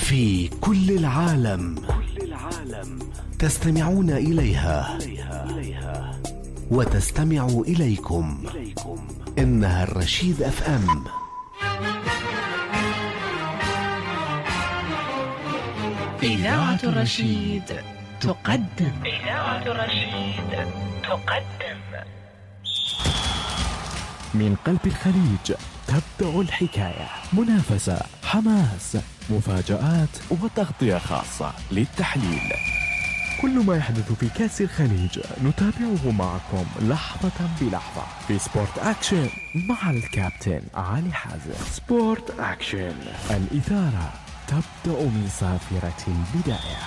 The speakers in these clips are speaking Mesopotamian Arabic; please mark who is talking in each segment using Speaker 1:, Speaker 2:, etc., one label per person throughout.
Speaker 1: في كل العالم تستمعون إليها وتستمع إليكم. إنها الرشيد FM.
Speaker 2: إذاعة الرشيد تقدم
Speaker 3: من قلب الخليج تبدأ الحكاية، منافسة، حماس، مفاجآت وتغطية خاصة للتحليل. كل ما يحدث في كأس الخليج نتابعه معكم لحظة بلحظة في سبورت أكشن مع الكابتن علي حازم. سبورت أكشن، الإثارة تبدأ من صافرة البداية.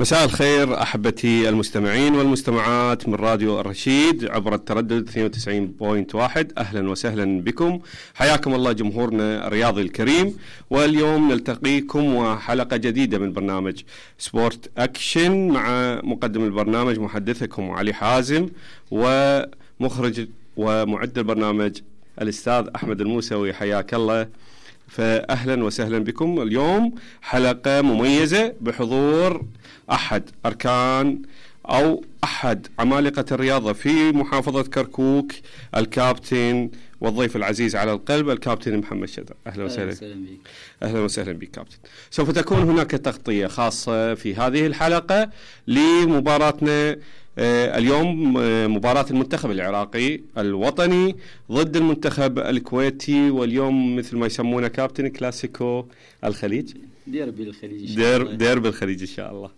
Speaker 4: مساء الخير أحبتي المستمعين والمستمعات من راديو الرشيد عبر التردد 92.1. أهلا وسهلا بكم، حياكم الله جمهورنا الرياضي الكريم. واليوم نلتقيكم وحلقة جديدة من برنامج سبورت أكشن مع مقدم البرنامج محدثكم علي حازم، ومخرج ومعد البرنامج الأستاذ أحمد الموسوي. حياك الله، فأهلا وسهلا بكم. اليوم حلقة مميزة بحضور أحد أركان أو أحد عمالقة الرياضة في محافظة كركوك، الكابتن والضيف العزيز على القلب الكابتن محمد شدر. أهلا وسهلا بك. أهلا وسهلا بك كابتن. سوف تكون هناك تغطية خاصة في هذه الحلقة لمباراتنا اليوم، مباراة المنتخب العراقي الوطني ضد المنتخب الكويتي، واليوم مثل ما يسمونه كابتن كلاسيكو الخليج،
Speaker 5: ديربي الخليج،
Speaker 4: ديربي الخليج إن شاء الله.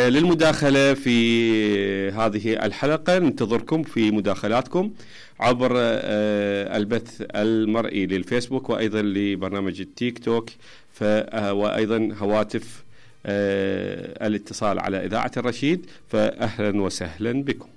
Speaker 4: للمداخلة في هذه الحلقة ننتظركم في مداخلاتكم عبر البث المرئي للفيسبوك وأيضا لبرنامج التيك توك، وأيضا هواتف الاتصال على إذاعة الرشيد. فأهلا وسهلا بكم.